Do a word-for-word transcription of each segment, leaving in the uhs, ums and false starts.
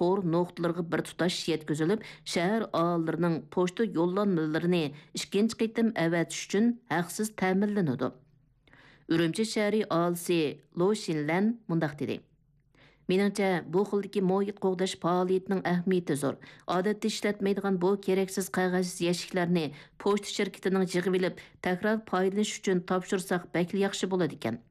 تور نۇقتىلىرىغا بىر تۇتاش يەتكۈزۈلۈپ، شەھەر ئاھالىلىرىنىڭ پوچتا يوللانمىلىرىنى ئىككىنچى قېتىم ئەۋەتىش ئۈچۈن ھەقسىز تەمىنلىنىدۇ. ئۈرۈمچى شەھىرى ئاھالىسى لو شىنلەن مۇنداق دېدى: مېنىڭچە، بۇ خىلدىكى مۇھىت قوغداش پائالىيىتىنىڭ ئەھمىيىتى زور. ئادەتتە ئىشلەتمەيدىغان بۇ كېرەكسىز قەغەز يەشىكلەرنى پوچتا شىركىتىنىڭ يىغىۋېلىپ، تەكرار پايدىلىنىش ئۈچۈن تاپشۇرساق بەكلا ياخشى بولىدىكەن.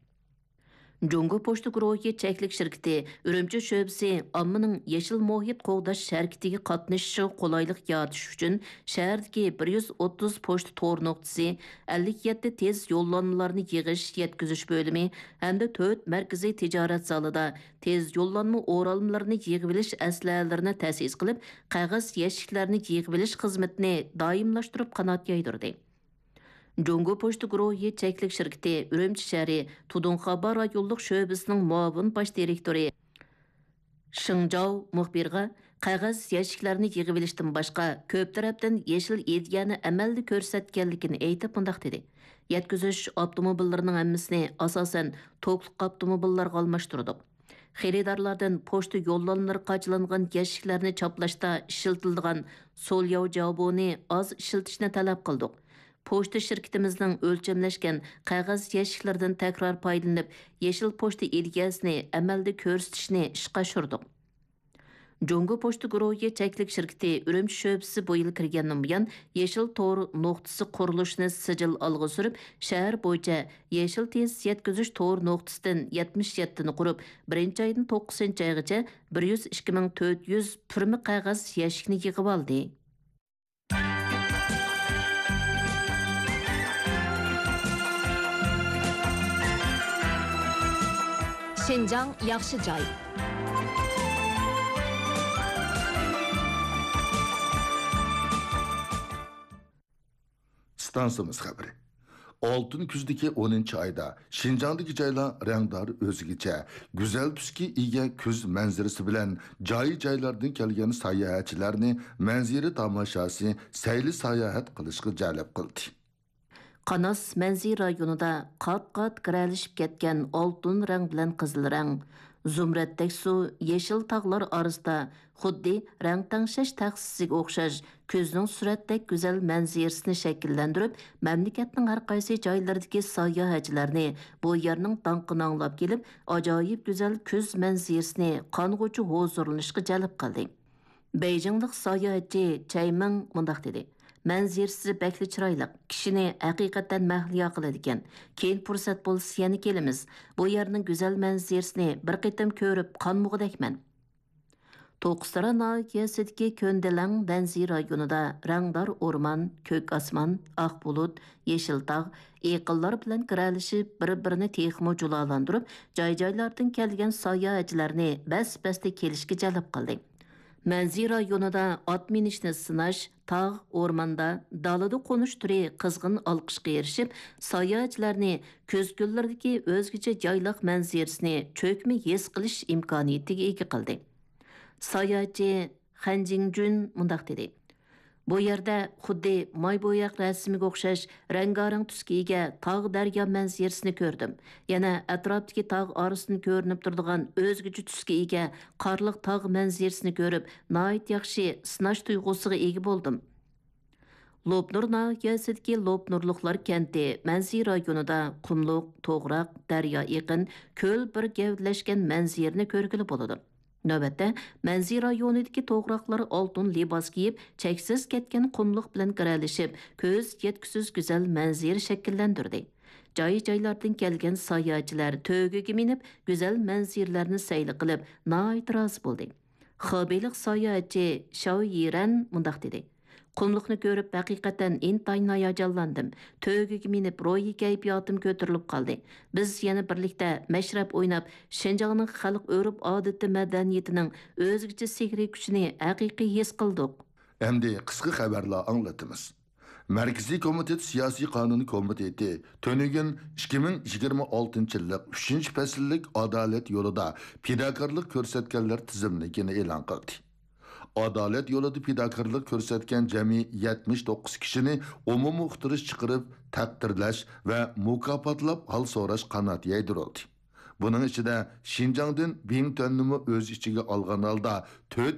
جۇڭگو پوچتا گۇرۇھى چەكلىك شىركىتى ئۈرۈمچى شۆبىسى ئاممىنىڭ يېشىل مۇھىت قوغداش ھەرىكىتىگە قاتنىشىشىغا قولايلىق يارىتىش ئۈچۈن شەھەردىكى بىر يۈز ئوتتۇز پوچتا تور نۇقتىسى، ئەللىك يەتتە تېز يوللانمىلارنى يىغىش، يەتكۈزۈش بۆلۈمى ھەمدە تۆت مەركىزىي تىجارەت زالىدا تېز يوللانما ئورالمىلىرىنى يىغىۋېلىش ئەسلىھەلىرىنى تەسىس قىلىپ، قەغەز يەشىكلەرنى يىغىۋېلىش خىزمىتىنى دائىملاشتۇرۇپ قانات يايدۇردى. جۇڭگو پوچتا گۇرۇھى چەكلىك شىركىتى ئۈرۈمچى شەھىرى تۇدۇڭخابا رايونلۇق شۆبىسىنىڭ مۇئاۋىن باش دىرېكتورى شېڭ جاۋ مۇخبىرغا قەغەز يەشىكلەرنى يىغىۋېلىشتىن باشقا، كۆپ تەرەپتىن يېشىل ئىدىيەنى ئەمەلدە كۆرسەتكەنلىكىنى ئېيتىپ مۇنداق دېدى: يەتكۈزۈش ئاپتوموبىللىرىنىڭ ھەممىسىنى ئاساسەن توكلۇق ئاپتوموبىللارغا ئالماشتۇردۇق. خېرىدارلاردىن پوچتا يوللانمىلىرى قاچىلانغان يەشىكلەرنى چاپلاشتا ئىشلىتىلىدىغان سولياۋ جاۋبونى ئاز ئىشلىتىشنى تەلەپ قىلدۇق. پوچتا شىركىتىمىزنىڭ ئۆلچەملەشكەن قەغەز يەشىكلىرىدىن تەكرار پايدىلىنىپ، يېشىل پوچتا ئىدىيەسىنى ئەمەلدە كۆرسىتىشنى ئىشقا ئاشۇردۇق. جۇڭگو پوچتا گۇرۇھى چەكلىك شىركىتى ئۈرۈمچى شۆبىسى بۇ يىل كىرگەندىن بۇيان، يېشىل تور نۇقتىسى قۇرۇلۇشىنى سىجىل ئالغا سۈرۈپ، شەھەر بويىچە يېشىل تېز يەتكۈزۈش تور نۇقتىسىدىن يەتمىش يەتتىنى قۇرۇپ، بىرىنچى ئايدىن توققۇزىنچى ئايغىچە بىر يۈز ئىككى مىڭ تۆت يۈز پۈرمە قەغەز يەشىكىنى يىغىۋالدى. شىنجاڭ ياخشى جاي. ئىستانسىمىز خەۋىرى. ئالتۇن كۈزدىكى ئونىنچى ئايدا شىنجاڭدىكى جايلار رەڭدار، ئۆزگىچە گۈزەل تۈسكە ئىگە كۈز مەنزىرىسى بىلەن جاي-جايلاردىن كەلگەن ساياھەتچىلەرنى مەنزىرە تاماشاسى، سەيلە ساياھەت قىلىشقا جەلپ قىلدى. قاناس مەنزىرە رايونىدا قات-قات گىرەلىشىپ كەتكەن ئالتۇن رەڭ بىلەن قىزىل رەڭ، زۇمرەتتەك سۇ، يېشىل تاغلار ئارىسىدا خۇددى رەڭ تەڭشەش تەخسىسىگە ئوخشاش كۈزنىڭ سۈرەتتەك گۈزەل مەنزىرىسىنى شەكىللەندۈرۈپ، مەملىكەتنىڭ ھەر قايسى جايلىرىدىكى ساياھەتچىلەرنى بۇ يەرنىڭ داڭقىنى ئاڭلاپ كېلىپ، ئاجايىپ گۈزەل كۈز مەنزىرىسىنى قانغۇچە ھۇزۇرلىنىشقا جەلپ قىلدى. بېيجىڭلىق ساياھەتچى چەي مىڭ مۇنداق دېدى: مەنزىرىسى بەكلا چىرايلىق، كىشىنى ھەقىقەتەن مەھلىيا قىلىدىكەن. كېيىن پۇرسەت بولسا يەنە كېلىمىز. بۇ يەرنىڭ گۈزەل مەنزىرىسىنى بىر قېتىم كۆرۈپ قانمىغۇدەكمەن. توققۇزتارا ناھىيەسىدىكى كۆندىلەڭ مەنزىرە رايونىدا رەڭدار ئورمان، كۆك ئاسمان، ئاق بۇلۇت، يېشىل تاغ، ئېقىنلار بىلەن گىرەلىشىپ، بىر-بىرىنى تېخىمۇ جۇلالاندۇرۇپ، جاي-جايلاردىن كەلگەن ساياھەتچىلەرنى بەس-بەستە كېلىشكە جەلپ قىلدى. مەنزىرە رايونىدا ئات مىنىشنى سىناش، تاغ، ئورماندا، دالىدا قونۇش تۈرى قىزغىن ئالقىشقا ئېرىشىپ، ساياھەتچىلەرنى كۈز كۈنلىرىدىكى ئۆزگىچە يايلاق مەنزىرىسىنى چۆكمە ھېس قىلىش ئىمكانىيىتىگە ئىگە قىلدى. ساياھەتچى خەن جىڭجۈن مۇنداق دېدى: بۇ يەردە خۇددى ماي بوياق رەسىمىگە ئوخشاش رەڭگارەڭ تۈسكە ئىگە تاغ، دەريا مەنزىرىسىنى كۆردۈم. يەنە ئەتراپتىكى تاغ ئارىسىدىن كۆرۈنۈپ تۇرىدىغان ئۆزگىچە تۈسكە ئىگە قارلىق تاغ مەنزىرىسىنى كۆرۈپ، ناھايىتى ياخشى سىناش تۇيغۇسىغا ئىگە بولدۇم. لوپنۇر ناھىيەسىدىكى لوپنۇرلۇقلار كەنتى مەنزىرە رايونىدا قۇملۇق، توغراق، دەريا ئېقىن، كۆل بىر گەۋدىلەشكەن مەنزىرىنى كۆرگىلى بولىدۇ. نۆۋەتتە، مەنزىرە رايونىدىكى توغراقلار ئالتۇن لىباس كىيىپ، چەكسىز كەتكەن قۇملۇق بىلەن گىرەلىشىپ، كۆز يەتكۈسىز گۈزەل مەنزىرە شەكىللەندۈردى. جاي-جايلاردىن كەلگەن ساياھەتچىلەر تۆگىگە مىنىپ، گۈزەل مەنزىرىلەرنى سەيلە قىلىپ، ناھايىتى رازى بولدى. خېبېيلىق ساياھەتچى شاۋ يىرەن مۇنداق دېدى: قۇملۇقنى كۆرۈپ، ھەقىقەتەن ئىنتايىن ھاياجانلاندىم. تۆگىگە مىنىپ، روھىي كەيپىياتىم كۆتۈرۈلۈپ قالدى. بىز يەنە بىرلىكتە مەشرەپ ئويناپ، شىنجاڭنىڭ خەلق ئۆرپ-ئادىتى، مەدەنىيىتىنىڭ ئۆزگىچە سېھرىي كۈچىنى ھەقىقىي ھېس قىلدۇق. ئەمدى قىسقا خەۋەرلەر ئاڭلىتىمىز. مەركىزىي كومىتېت سىياسىي قانۇن كومىتېتى تۈنۈگۈن ئىككى مىڭ يىگىرمە ئالتىنچى يىللىق ئۈچىنچى پەسىللىك ئادالەت يولىدا پىداكارلىق كۆرسەتكەنلەر تىزىملىكىنى ئېلان قىلدى. ئادالەت يولىدا پىداكارلىق كۆرسەتكەن جەمئىي يەتمىش توققۇز كىشىنى ئومۇمىي ئۇقتۇرۇش چىقىرىپ، تەقدىرلەش ۋە مۇكاپاتلاپ ھال سوراش قانات يايدۇرۇلدى. بۇنىڭ ئىچىدە شىنجاڭدىن بىڭتۈەننىمۇ ئۆز ئىچىگە ئالغان ھالدا تۆت